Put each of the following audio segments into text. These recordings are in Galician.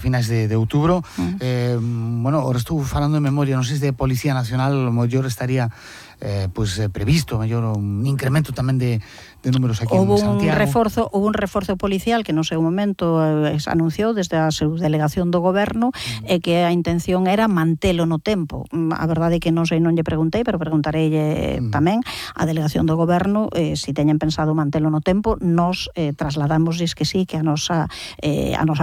finais de outubro. Bueno, ahora estou falando de memoria, non sei se de Policía Nacional o mellor estaría previsto mellor un incremento tamén de números aquí en Santiago. Houve un reforzo policial que no seu momento se anunciou desde a subdelegación do goberno e que a intención era mantelo no tempo. A verdade é que non lle preguntei, pero preguntareille tamén a delegación do goberno se teñen pensado mantelo no tempo. Nos trasladamosles que sí, que a nosa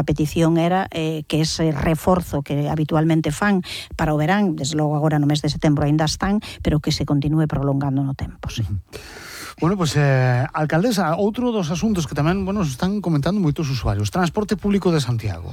petición era que ese reforzo que habitualmente fan para o verán, desde logo agora no mes de setembro ainda están, pero que se continúe prolongando no tempo, sí. Bueno, alcaldesa, outro dos asuntos que tamén, están comentando moitos usuarios, transporte público de Santiago.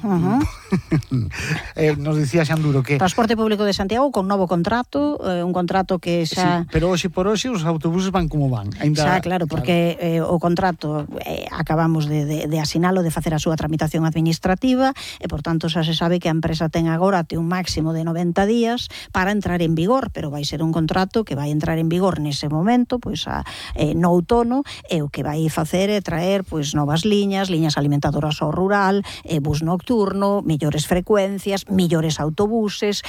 Nos dicía Xanduro que... Transporte público de Santiago con novo contrato, un contrato que xa... Sí, pero hoxe por hoxe os autobuses van como van. Xa, claro, porque o contrato acabamos de asinalo, de facer a súa tramitación administrativa, e, por tanto, xa se sabe que a empresa ten agora un máximo de 90 días para entrar en vigor, pero vai ser un contrato que vai entrar en vigor nese momento, no outono, e o que vai facer é traer novas liñas alimentadoras ao rural, bus nocturno, mellores frecuencias, mellores autobuses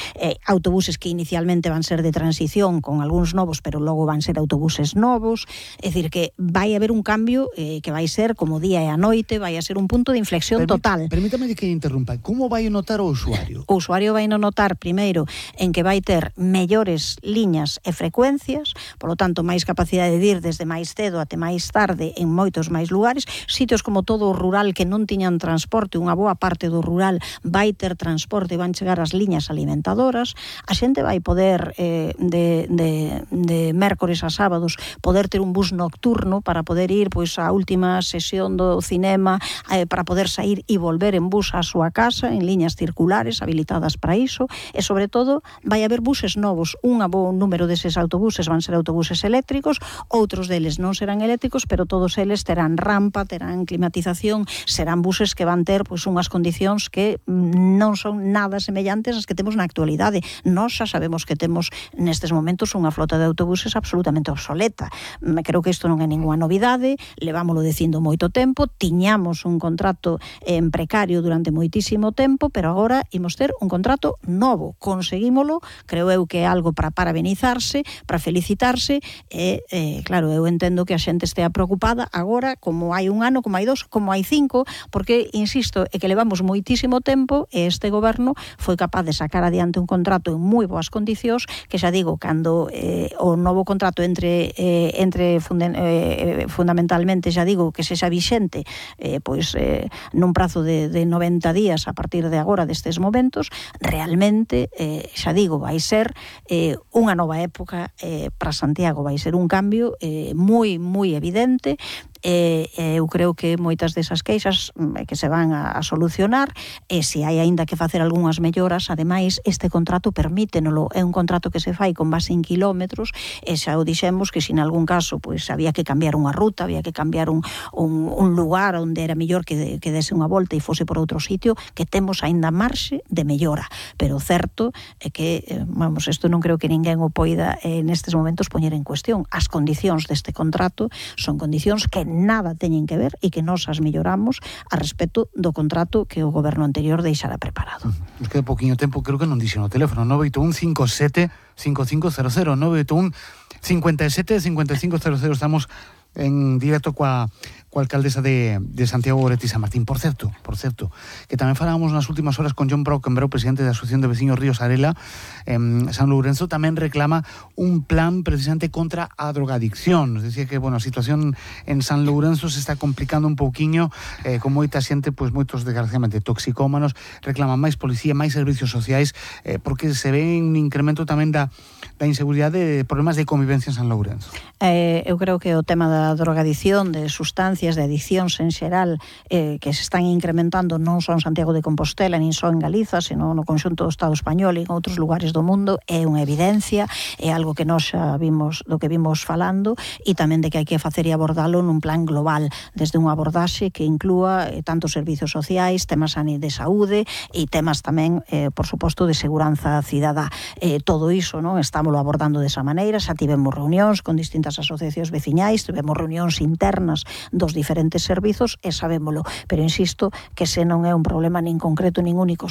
que inicialmente van ser de transición con algúns novos, pero logo van ser autobuses novos. É dicir, que vai haber un cambio que vai ser como día e a noite, vai a ser un punto de inflexión total. Permítame que interrumpa. Como vai notar o usuario? O usuario vai notar, primeiro, en que vai ter mellores liñas e frecuencias, polo tanto, máis capacidade de ir desde máis cedo até máis tarde en moitos máis lugares. Sitios como todo o rural que non tiñan transporte, unha boa parte do rural vai ter transporte, van chegar as liñas alimentadoras. A xente vai poder de mércores a sábados poder ter un bus nocturno para poder ir á última sesión do cinema, para poder sair e volver en bus á súa casa en liñas circulares habilitadas para iso, e sobre todo vai haber buses novos. Un bo número deses autobuses van ser autobuses eléctricos, outros deles non serán eléctricos, pero todos eles terán rampa, terán climatización, serán buses que van ter unhas condicións que non son nada semellantes ás que temos na actualidade. Nós xa sabemos que temos nestes momentos unha flota de autobuses absolutamente obsoleta. Creo que isto non é ninguna novidade, levámoslo dicindo moito tempo, tiñamos un contrato en precario durante moitísimo tempo, pero agora imos ter un contrato novo. Conseguímolo, creo eu que é algo para parabenizarse, para felicitarse, e claro, eu entendo que a xente estea preocupada agora, como hai un ano, como hai 2, como hai 5, porque, insisto, é que levamos moitísimo tempo e este goberno foi capaz de sacar adiante un contrato en moi boas condicións, que xa digo, cando o novo contrato entre fundamentalmente, xa digo, que sexa vixente nun prazo de 90 días a partir de agora destes momentos, realmente, xa digo, vai ser unha nova época para Santiago, vai ser un cambio moi evidente. Eu creo que moitas desas queixas que se van a solucionar, e se hai aínda que facer algunhas melloras, ademais, este contrato permítenolo, é un contrato que se fai con base en kilómetros, e xa o dixemos que se en algún caso había que cambiar unha ruta, había que cambiar un lugar onde era mellor que dese unha volta e fose por outro sitio, que temos aínda marxe de mellora, pero certo é que, isto non creo que ninguén o poida nestes momentos poñer en cuestión. As condicións deste contrato son condicións que nada teñen que ver e que nós as melloramos a respecto do contrato que o goberno anterior deixara preparado. Nos queda pouquinho tempo, creo que non dixen o teléfono, 981 57 5500, 981 57 5500. Estamos en directo coa alcaldesa de Santiago Goretti San Martín. Por certo, que tamén falábamos nas últimas horas con John Brockenbrough, presidente da Asociación de Veciños Ríos Arela, San Lourenzo, tamén reclama un plan precisamente contra a drogadicción. Nos decía que, a situación en San Lourenzo se está complicando un pouquiño, con moita xente, moitos desgraciadamente toxicómanos, reclaman máis policía, máis servicios sociais, porque se ve un incremento tamén da inseguridade, de problemas de convivencia en San Lourenzo. Eu creo que o tema da drogadicción, de sustancias, de adiccións en xeral, que se están incrementando non só en Santiago de Compostela, nin só en Galiza, senón no conxunto do Estado español e en outros lugares do mundo, é unha evidencia, é algo que nós xa vimos, do que vimos falando, e tamén de que hai que facer e abordalo nun plan global, desde unha abordaxe que inclúa tanto servizos sociais, temas de saúde e temas tamén, por suposto, de seguranza cidadá. Todo iso, non, estámoslo abordando desa maneira, xa tivemos reunións con distintas asociacións veciñais, tivemos reunións internas dos diferentes servizos e sabémolo, pero insisto que se non é un problema nin concreto nin único